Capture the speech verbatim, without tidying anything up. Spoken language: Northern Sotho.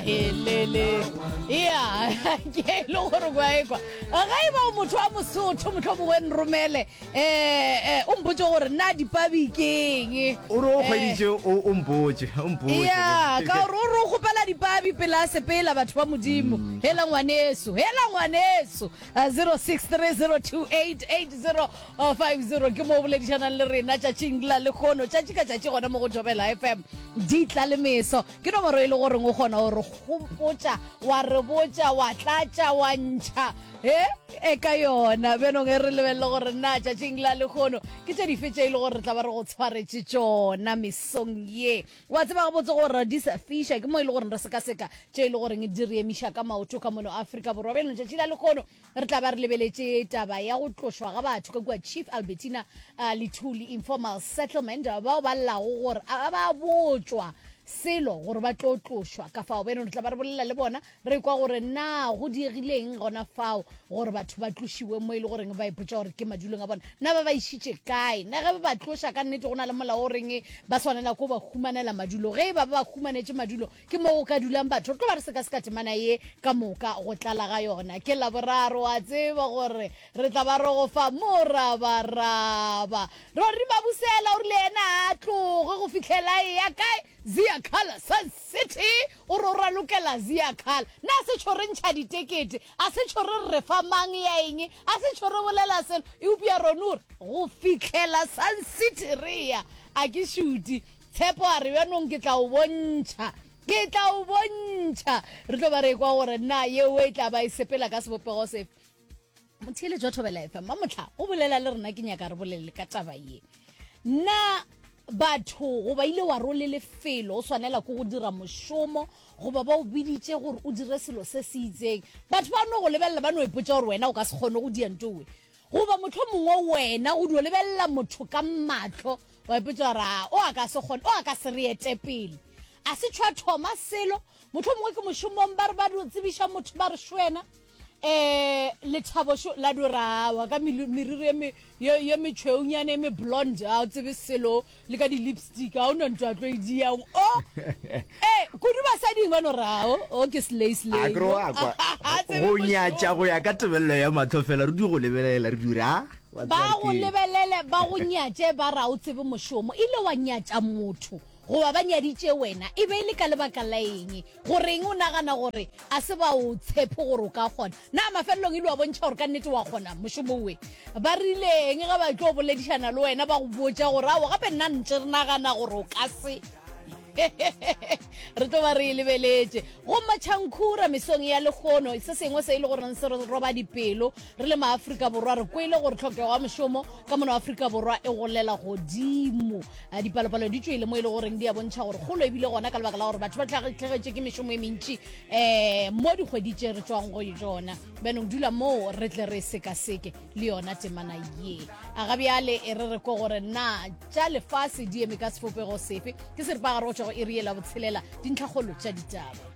Elele ya ke e le gore kwa ekwa ge e ba o motho wa Mosotho, motlho mongwe nromele um o mpotse gore na dipabi keng. O re o kgweditše, o o mpotše, o mpotše. Ya ka gore o re o kgopela dipabi pele a sepela. Batho ba Modimo, hela ngwaneso, hela ngwaneso. zero six three zero two eight eight zero five zero ke mo o boledišanang le rena tšatšing la lekgono, tšatši ka tšatši gona mo go Thobela F M, di tla le meso. Ke nomoro e le goreng o kgona gore gopotša, wa re botša, wa tlatša, wa ntšha e e ka yona. Bjanong e re lebelele gore na tšatšing la lekgono ke tše dife tše e le gore re tla ba re go tshwaretše tšona mesong ye. Wa tseba gabotse gore di sa fiša ke mo e le goreng re sekaseka tše e le goreng di re emiša ka maoto ka mono Afrika Borwa. Bjanong tšatši la lekgono re tla ba re lebeletše taba ya go tlošwa ga batho ka kua Chief Albertina uh, Luthuli Informal Settlement, bao ba llago gore a ba botšwa selo gore ba tlo tlošwa ka fao. Bjanong re tla ba re bolela le bona, re kwa gore na go diegileng gona fao gore batho ba tlošiwe mo e le goreng ba ipotša gore ke madulong a bona. Na ba ba išitše kae? Na ge ba ba tloša ka nnete go na le molao o reng ba swanela ko ba humanela madulo? Ge e ba ba ba humanetše madulo, ke mo go ka dulang batho? Re tlo ba re sekaseka temana ye ka moka go tlala ga yona. Ke Laboraro, wa tseba gore re tla ba re go fa morabaraba. Rori Mabusela o rile yena a tloge go fihlela e ya kae? Ziakhala, Sun City. O re o ralokela Ziakhala. Na se tšho re ntšha ditekete, a se tšho re re fa mang ya eng, a se tšho re bolela selo, eupša rone o re go fihlela Sun City re ya a ke šuti. Tshepo a re bjanong ke tla o bontšha, ke tla o bontšha. Re tlo ba re kwa gore na yeo e tla ba e sepela ka sebopego sefe. Motheeletši wa Thobela F M, mamotlha o bolela le rena, ke nyaka re bolele ka taba ye. Na batho goba ile wa role lefelo o swanela ke go dira mošomo, goba ba o biditše gore o dire selo se se itseng, batho ba no go lebelela ba no ipotša gore wena o ka se kgone go dia ntowe? Goba motlho mongwe wena go dio lebelela motho ka matlho wa ipotša gore a o a ka se kgone, o a ka se re ete pele, a se tšhwa thoma selo? Motlho mongwe ke mošomong, ba re ba dio tsebiša motho, ba re šwena um lethabo šo la dorawa ka meriri ye metšhweunyane e me blonde, a o tsebe selo le ka di-lipstick, a o no ntho a tlo e diang o e kudu basading ba no rao o ke slay slay. Go nyatša go ya ka tebelelo ya matlho fela, re di go lebelela re dira. Ba go lebelele, ba go nyatše, ba ra o tsebe mošomo. Ile wa nyatša motho goba ba nyaditše wena, e be e le ka lebaka la eng? Goreng o nagana gore a se ba o tshepe gore o ka kgona? Na mafelelong ile wa bontšha gore ka nnete wa kgona mošomo we? Ba rileng ge ba tlo boledišana le wena, ba go botša gore ao gape nna ntse re nagana gore o ka se? Re tlo ba re e lebeletše go Matšhankhura mesong ya lekgono. Se sengwe se e le goreng se re roba dipelo re le maAfrika Borwa, re kwele gore tlhokego ya mošomo ka mono Afrika Borwa e golela godimo. Dipalopalo di tšwele mo e le goreng di a bontšha gore kgolo ebile gona ka lebaka la gore batho ba tlhagetše ke mešomo e mentši um mo dikgwedi tše re tšwang go tšona. Bjanong dula moo re tle re sekaseke le yona temana ye. A ga bjale e re re ko gore na tša lefase di eme ka sefopego sefe. Ke seripagare go tšwa go iri ye la botshelela, dintlhakgolo tša ditaba.